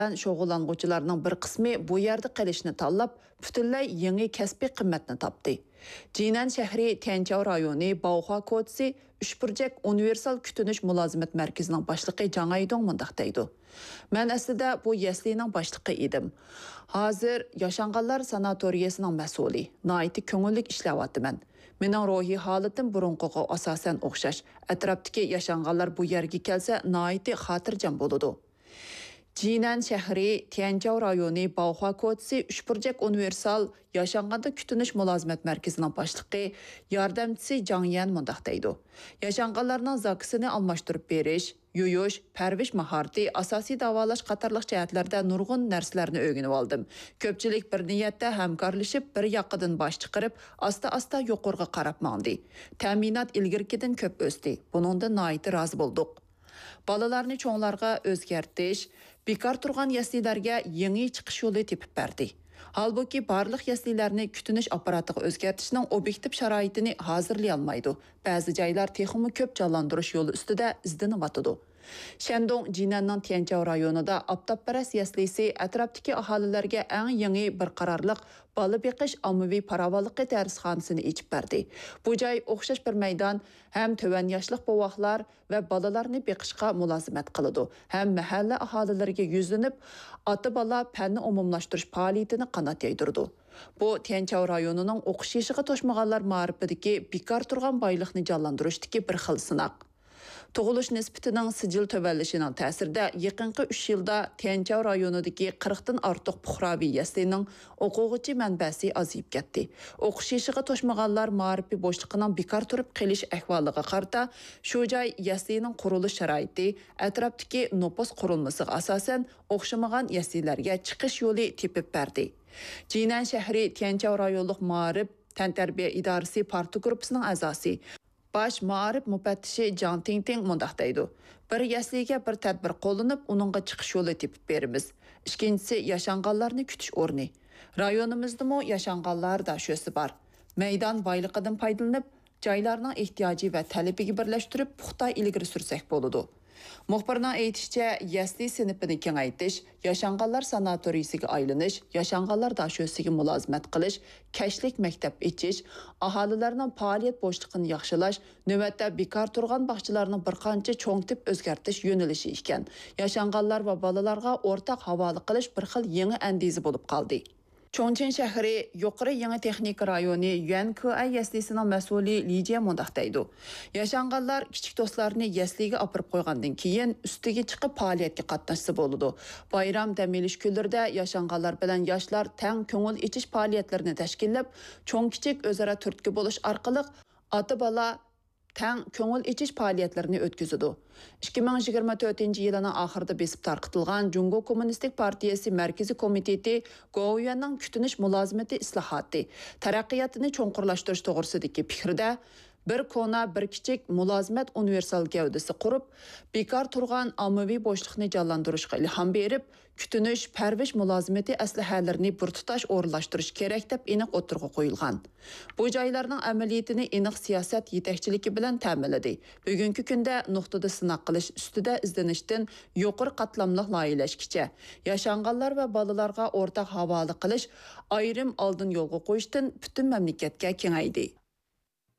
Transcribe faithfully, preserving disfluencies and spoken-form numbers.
بىلەن شۇغۇللانغۇچىلارنىڭ بىر قىسمى بۇ يەردە قېلىشنى تاللاپ، پۈتۈنلەي يېڭى كەسپىي قىممەتنى تاپتى. جىنەن شەھىرى تيەنچاۋ رايونى باۋخۇا كوچىسى ئۈچبۇرجەك ئۇنىۋېرسال كۈتۈنۈش مۇلازىمەت مەركىزىنىڭ باشلىقى جاڭ ئايدۇڭ مۇنداق دەيدۇ: مەن ئەسلىدە بۇ يەسلىنىڭ باشلىقى ئىدىم. ھازىر ياشانغانلار ساناتورىيەسىنىڭ مەسئۇلى. ناھايىتى كۆڭۈللۈك ئىشلەۋاتىمەن. مېنىڭ روھىي ھالىتىم بۇرۇنقىغا ئاساسەن ئوخشاش. ئەتراپتىكى ياشانغانلار بۇ يەرگە كەلسە ناھايىتى خاتىرجەم بولىدۇ. جىنەن شەھىرى تيەنچاۋ رايونى باۋخۇا كوچىسى ئۈچبۇرجەك ئۇنىۋېرسال ياشانغاندا كۈتۈنۈش مۇلازىمەت مەركىزىنىڭ باشلىقى ياردەمچىسى جاڭ يەن مۇنداق دەيدۇ: ياشانغانلارنىڭ زاكىسىنى ئالماشتۇرۇپ بېرىش، يۇيۇش، پەرۋىش ماھارىتى، ئاساسىي داۋالاش قاتارلىق جەھەتلەردە نۇرغۇن نەرسىلەرنى ئۆگىنىۋالدىم. كۆپچىلىك بىر نىيەتتە ھەمكارلىشىپ، بىر ياقىدىن باش چىقىرىپ، ئاستا-ئاستا يۇقىرىغا قاراپ ماڭدى. تەمىنات ئىلگىرىكىدىن كۆپ ئۆستى. بۇنىڭدىن ناھايىتى رازى بولدۇق. بالىلارنى چوڭلارغا ئۆزگەرتىش، بىكار تۇرغان يەسلىلەرگە يېڭى چىقىش يولى تېپىپ بەردى. ھالبۇكى، بارلىق يەسلىلەرنى كۈتۈنۈش ئاپپاراتىغا ئۆزگەرتىشنىڭ ئوبيېكتىپ شارائىتىنى ھازىرلىيالمايدۇ. بەزى جايلار تېخىمۇ كۆپ جانلاندۇرۇش يولى ئۈستىدە ئىزدىنىۋاتىدۇ. شەندۇڭ جىنەننىڭ تيەنچاۋ رايونىدا ئاپتاپپەرەس يەسلىسى ئەتراپتىكى ئاھالىلەرگە ئەڭ يېڭى بىر قارارلىق بالا بېقىش ئاممىۋى پاراۋانلىقى دەرسخانىسىنى ئېچىپ بەردى. بۇ جاي ئوخشاش بىر مەيدان ھەم تۆۋەن ياشلىق بوۋاقلار ۋە بالىلارنى بېقىشقا مۇلازىمەت قىلىدۇ، ھەم مەھەللە ئاھالىلىرىگە يۈزلىنىپ، ئاتا-بالا پەننى ئومۇملاشتۇرۇش پائالىيىتىنى قانات يايدۇرىدۇ. بۇ تيەنچاۋ رايونىنىڭ ئوقۇش يېشىغا توشمىغانلار مائارىپىدىكى بىكار تۇرغان بايلىقنى جانلاندۇرۇشتىكى بىر خىل سىناق. تۇغۇلۇش نىسبىتىنىڭ سىجىل تۆۋەنلىشىنىڭ تەسىرىدە، يېقىنقى ئۈچ يىلدا تيەنچاۋ رايونىدىكى قىرىقتىن ئارتۇق پۇقراۋى يەسلىنىڭ ئوقۇغۇچى مەنبەسى ئازىيىپ كەتتى. ئوقۇش يېشىغا توشمىغانلار مائارىپى بوشلۇقىنىڭ بىكار تۇرۇپ قېلىش ئەھۋالىغا قارىتا، شۇ جاي يەسلىنىڭ قۇرۇلۇش شارائىتى، ئەتراپتىكى نوپۇس قۇرۇلمىسىغا ئاساسەن، ئوخشىمىغان يەسلىلەرگە چىقىش يولى تېپىپ بەردى. جىنەن شەھىرى تيەنچاۋ رايونلۇق مائارىپ تەنتەربىيە ئىدارىسى پارتگۇرۇپپىسىنىڭ ئەزاسى، باش مائارىپ مۇپەتتىشى جاڭ تىڭتىڭ مۇنداق دەيدۇ: بىر يەسلىگە بىر تەدبىر قوللىنىپ، ئۇنىڭغا چىقىش يولى تېپىپ بېرىمىز. ئىككىنچىسى، ياشانغانلارنى كۈتۈش ئورنى. رايونىمىزدىمۇ ياشانغانلار داشۆسى بار. مەيدان بايلىقىدىن پايدىلىنىپ، جايلارنىڭ ئېھتىياجى ۋە تەلىپىگە بىرلەشتۈرۈپ، پۇختا ئىلگىرى سۈرسەك بولىدۇ. مۇخبىرنىڭ ئېيتىشىچە، يەسلى سىنىپىنى كېڭەيتىش، ياشانغانلار ساناتورىيىسىگە ئايلىنىش، ياشانغانلار داشۆسىگە مۇلازىمەت قىلىش، كەچلىك مەكتەپ ئېچىش، ئاھالىلەرنىڭ پائالىيەت بوشلۇقىنى ياخشىلاش، نۆۋەتتە بىكار تۇرغان باغچىلارنىڭ بىر قانچە چوڭ تىپ ئۆزگەرتىش يۆنىلىشى ئىكەن. ياشانغانلار ۋە بالىلارغا ئورتاق ھاۋالە قىلىش بىر خىل يېڭى ئەندىزە بولۇپ قالدى. چۇڭچىڭ شەھىرى يۇقىرى يېڭى تېخنىكا رايونى يۈەنكۈئەي يەسلىسىنىڭ مەسئۇلى لى جيې مۇنداق دەيدۇ: ياشانغانلار كىچىك دوستلارنى يەسلىگە ئاپىرىپ قويغاندىن كېيىن، ئۈستىگە چىقىپ پائالىيەتكە قاتناشسا بولىدۇ. بايرام، دەم ئېلىش كۈنلىرىدە ياشانغانلار بىلەن ياشلار تەڭ كۆڭۈل ئېچىش پائالىيەتلىرىنى تەشكىللەپ، چوڭ-كىچىك ئۆزئارا تۈرتكە بولۇش ئارقىلىق ئاتا-بالا تەڭ كۆڭۈل ئېچىش پائالىيەتلىرىنى ئۆتكۈزىدۇ. ئىككى مىڭ يىگىرمە تۆتىنچى يىلىنىڭ ئاخىرىدا بېسىپ تارقىتىلغان جۇڭگو كوممۇنىستىك پارتىيەسى مەركىزىي كومىتېتى گوۋۇيۈەننىڭ كۈتۈنۈش مۇلازىمىتى ئىسلاھاتى، تەرەققىياتىنى چوڭقۇرلاشتۇرۇش توغرىسىدىكى پىكرىدە، بىر كونا، بىر كىچىك مۇلازىمەت ئۇنىۋېرسال گەۋدىسى قۇرۇپ، بىكار تۇرغان ئاممىۋى بوشلۇقنى جانلاندۇرۇشقا ئىلھام بېرىپ، كۈتۈنۈش، پەرۋىش مۇلازىمىتى ئەسلىھەلىرىنى بىر تۇتاش ئورۇنلاشتۇرۇش كېرەك، دەپ ئېنىق ئوتتۇرىغا قويۇلغان. بۇ جايلارنىڭ ئەمەلىيىتىنى ئېنىق سىياسەت يېتەكچىلىكى بىلەن تەمىنلىدى. بۈگۈنكى كۈندە نۇقتىدا سىناق قىلىش ئۈستىدە ئىزدىنىشتىن يۇقىرى قاتلاملىق لايىھەلەشكىچە، ياشانغانلار ۋە بالىلارغا ئورتاق ھاۋالە قىلىش، ئايرىم ئالدىن يولغا قويۇشتىن پۈتۈن مەملىكەتكە كېڭەيدى.